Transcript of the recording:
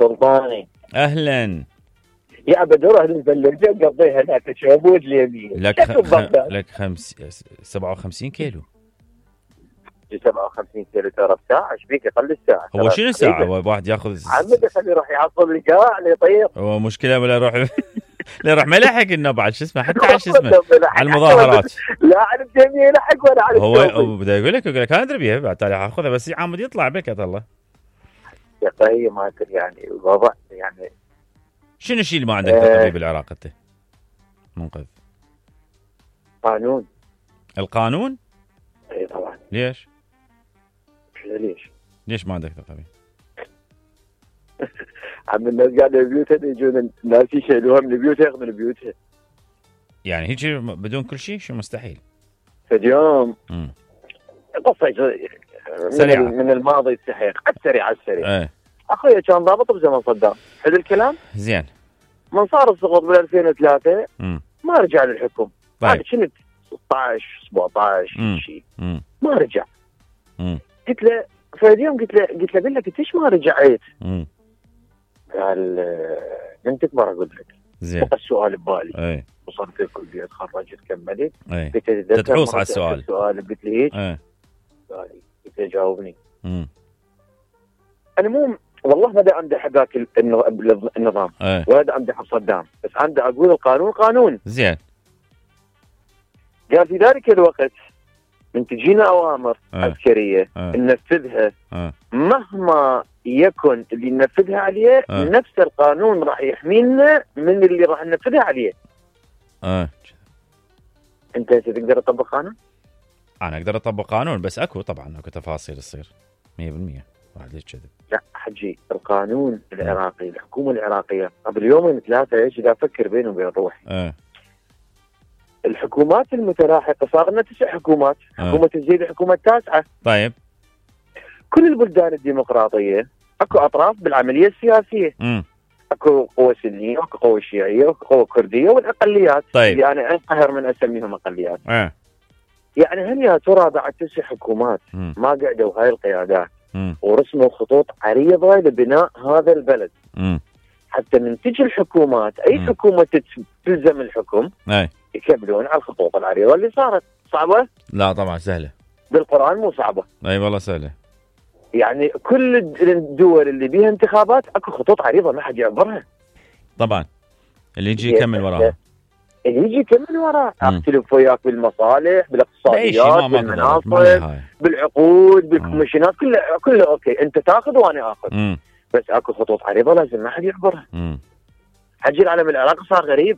سلطاني. اهلا. يا بدور اهل البلديه نقضيها هناك تشابود اليمين. لك 57 كيلو. 57 كيلو ترى بساعه ايش بيك اقل الساعه. هو شنو ساعه واحد ياخذ عمد خليه يروح يعصب القاع ليطير. هو مشكله ولا يروح لا يروح ما يلحق انه بعد شو اسمه حتى على شو اسمه على المظاهرات. لا على الجميع يلحق ولا على هو بدا يقول لك انا ادري بيها بعد تالي اخذها بس عمود يطلع بك الله. يا طيب ما ادري يعني الوضع يعني شنو الشيء اللي ما عندك تقريبا بالعراق انت؟ منقذ قانون. القانون؟ اي طبعا. ليش؟ ليش ما عندك تقريبا؟ عم الناس قاعده ببيوتها يجون الناس يشيلوها من بيوتها ياخذون بيوتها. يعني هيك بدون كل شيء شو مستحيل؟ فاليوم قصة سريعة من الماضي السحيق السريع ايه. اخويا كان ضابط بزمن صدام. حلو الكلام؟ زين. من صار السقوط بال 2003 ما رجع للحكم. طيب. انا كنت 16 17 شيء ما رجع. قلت له فاليوم قلت له بالله قلت ليش ما رجعت؟ قال من تكبر اقول لك. زين. بقى السؤال ببالي. اي. وصلت الكليه تخرجت كملت. قلت له تحوص على السؤال. قلت لي هيك؟ قلت له جاوبني. انا مو والله ما دا امدح ذاك النظام ولا دا امدح بصدام بس عندي اقول القانون قانون. زين. قال في ذلك الوقت من تجينا اوامر عسكريه ننفذها مهما يكن اللي ننفذها عليه نفس القانون راح يحمينا من اللي راح ننفذها عليه. انت تقدر تطبق قانون؟ انا اقدر اطبق قانون بس اكو تفاصيل تصير 100% واحد ليش كذب. لا حجي القانون العراقي الحكومه العراقيه قبل يومين ثلاثه ايش اذا افكر بيني وبين روحي. الحكومات المتلاحقه صار لنا 9 حكومات. حكومه الزيد الحكومه التاسعه. طيب. كل البلدان الديمقراطيه اكو اطراف بالعمليه السياسيه. اكو قوى سنيه واكو قوى شيعيه واكو قوى كرديه والاقليات. طيب. اللي انا انقهر من اسميهم اقليات. يعني هل يا ترى بعد 9 حكومات ما قعدوا هاي القيادات ورسموا خطوط عريضه لبناء هذا البلد حتى من تجي الحكومات اي حكومه تلزم الحكم يكملون على الخطوط العريضه اللي صارت. صعبه؟ لا طبعا سهله. بالقران مو صعبه. اي والله سهله. يعني كل الدول اللي بيها انتخابات اكو خطوط عريضه ما حد يعبرها. طبعا اللي يجي يكمل وراها. اللي يجي يكمل وراها. اختلف وياك بالمصالح بالاقتصاديات بالمناصب بالعقود بالكوميشنات كله اوكي انت تاخذ وانا اخذ. بس اكو خطوط عريضه لازم ما حد يعبرها. حجي العالم العراقي صار غريب.